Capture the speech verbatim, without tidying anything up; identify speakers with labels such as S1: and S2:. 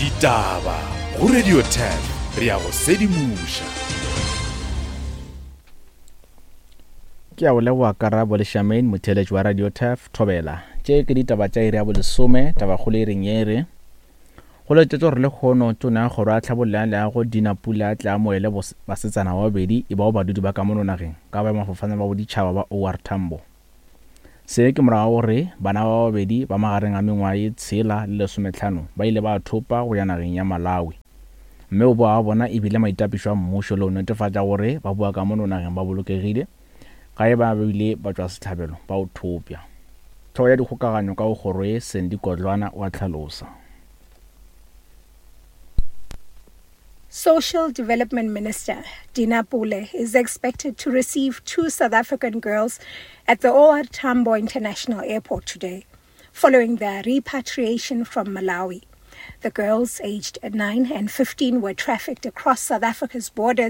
S1: Ditaba go Radio Turf re ya go sedimoša.
S2: Ke a o leboga Karabo le Charmaine motheeletši wa Radio Turf Thobela. Tše ke ditaba tša iri ya bolesome tabakgolo e reng ye re go laetša gore lehono tona ya kgoro ya tlhabollo ya leago Dina Pule a tle amoele basetsana ba babedi e bao badudi ba ka mono nageng ka boemafofane ba boditšhaba ba OR Tambo. Se ke morago ga gore bana ba babedi ba magareng a mengwaga ye tshela le lesometlhano ba ile ba thopa go ya nageng ya Malawi. Mme go boa ga bona e bile maitapišo a mmušo le go netefatša gore ba boa ka mono nageng ba bolokegile ga e ba bile ba tšwa sehlabelo ba o thopša. Hlogo ya dikgokaganyo ka go kgoro ye Sandy Kodlwana wa hlalosa.
S3: Social Development Minister Dina Pule is expected to receive two South African girls at the OR Tambo International Airport today, following their repatriation from Malawi. The girls, aged nine and fifteen, were trafficked across South Africa's borders